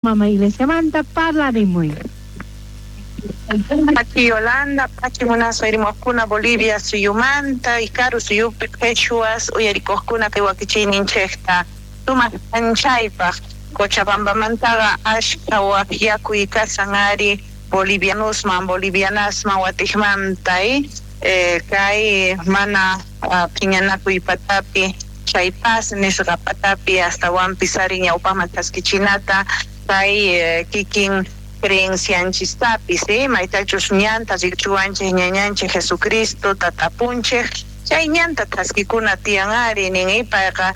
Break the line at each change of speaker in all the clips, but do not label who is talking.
Mama Iglesiamanta parlarimuy.
Pachi Yolanda, pachi munasqa irmojkuna Bolivia suyumanta, Ikaru suyupi qhechuas uyarikojkuna kay wakichiyninchejta sumaq k'anchaypaj Cochabambamantaqa ashkha wajyakuy kasan ari bolivianosman, bolivianasman watijmanta kay mana phiñanakuy patapi chay paz nisqa patapi astawanpis ari ñawpajman thaskichinata kay kikin creencianchistapis maytachus ñanta rikuchiwanchej ñañanchej Jesucristo tatapunchej chay ñanta thaskikuna tiyan ari nin payqa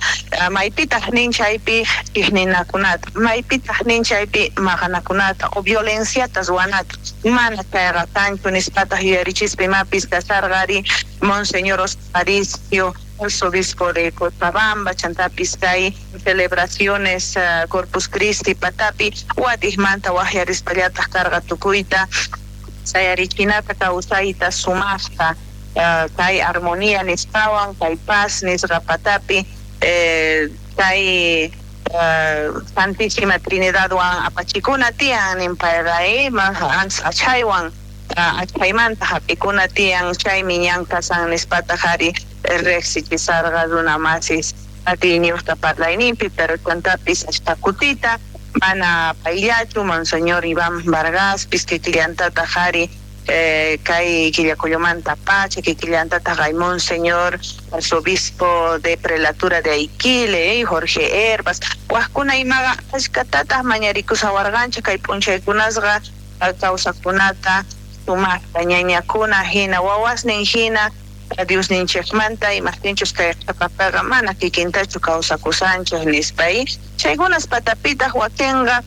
maypitaj nin chaypi chijninakunata maypitaj nin chaypi maqanakunata o violenciata ruwanata mana chayqa kanchu nispataj yuyarichispa imapis kasarqa ari Monseñor Aparicio arzobispo de Cochabamba chantapis kay celebraciones Corpus Christi patapi watijmanta wajyarispallataj karqa tukuyta sayarichinata kawsayta sumajta kay armonía nisqawan kay paz nisqa patapi kay Santísima Trinidadwan apachikuna tiyan nin payqa achhaywan achhaymanta hap'ikuna tiyan chaymi ñan kasan nispataj ari rejsichisarqa runa masis atiyniyuqta parlayninpi pero chantapis ashkha kutita mana payllachu Monseñor Iván Vargaspis kikillantataj ari kay Quillacollomanta pacha kikillantataj hay Monseñor arzobispo de prelatura de Aiquile Jorge Herbas wajkuna imaqa ashkatataj mañarikushawarqanchej kay p'unchaykunasqa kawsaqkunata sumaqta ñañakuna hina wawasnin hina Diosninchikmanta imajtinchus kay qhipapiqa mana kikintachu kawsakusanchej nispa chaykunas patapitaq wakinqa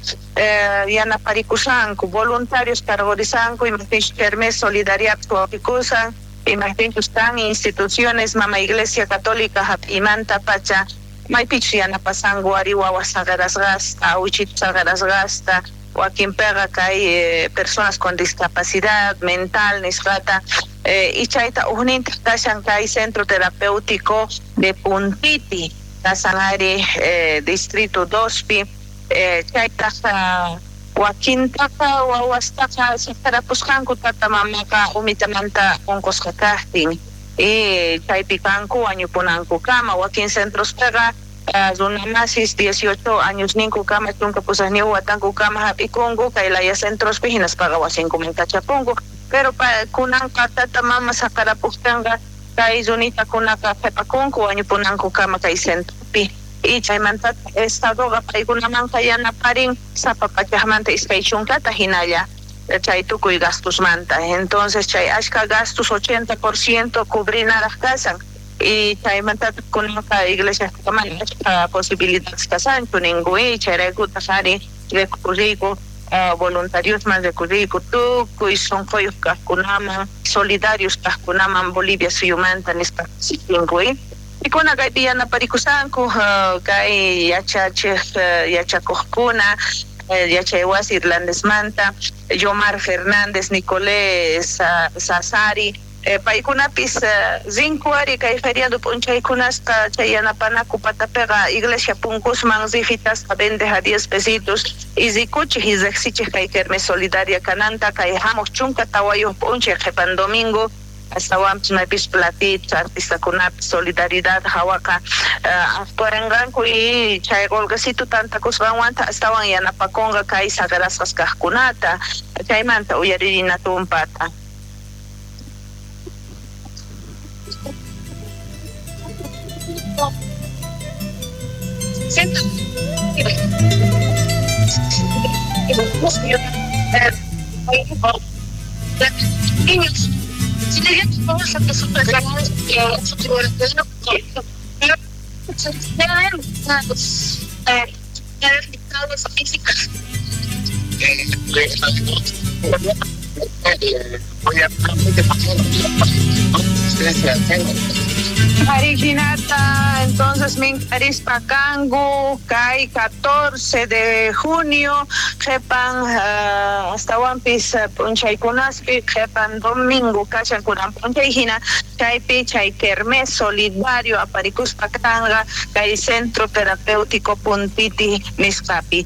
yanaparikushanku voluntarios cargorisanku imajtinchus kermés solidariapis wawqikusan imajtinchus kan instituciones mama Iglesia Católica hap'imanta pacha maypichus yanapasanku ari wawas saqerasqasta awichitus saqerasqasta wakinpiqa kay personas con discapacidad mental nisqata y chayta ujnintaj kashan kay centro terapéutico de Puntiti kasan ari distrito 2pi chaytaj wakintaqa wawastaqa saqerapusqanku tata mamaqa umitamanta unqusqa kajtin y chaypi kanku wañupunankukama wakin centrospiqa runa masis 18 años ninkukama chunka pusaqniyuq watankukama hap'ikunku kay laya centrospi hinaspaqa wasinkuman kachapunku pero kunanqa tata mama saqerapujtinqa kay runitakunaqa qhipakunku wañupunankukama kay centropi y chaymanta estadoqa paykunamanqa yanaparin sapa pachajmanta 20 hinalla chay tukuy gastusmanta entonces chay ashka gastos 80% cubrinaraj kasan y chaymanta kunanqa iglesia mana ashka posibilidades kasanchu ninku chayraykutaq ari recurriyku voluntariosman recurriyku tukuy sunquyuq kaqkunaman solidarios kaqkunaman Bolivia suyumanta nispa sinku pikuna kaypi yanaparikushanku kay yachachej yachakuqkuna yachaywasi irlandesmanta Yomar Fernández Nicolé Sasari paykunapis rinku ari kay feriado p'unchaykunasqa chay yanapanaku patapiqa iglesia punkusman rifitasqa vendej a 10 pesitos y rikuchej y riqsichej kay kermés solidaria kananta kay hamuq 14 p'unchay qhipan domingo astawanpis maypis platitos artistakunapis solidaridad hawaqa actuarinqanku y chay qolqesito tantakusqanwanta astawan yanapakunqa kay saqerasqas kaqkunata chaymanta uyaririna tumpata. Arijinata, entonces minkarispa kanku kay 14 de junio qhipan astawanpis p'unchaykunaspi qhipan domingo kashan kunan p'unchay hina chaypi chay kermés solidario aparikuspa kanqa kay centro terapéutico Puntiti nisqapi.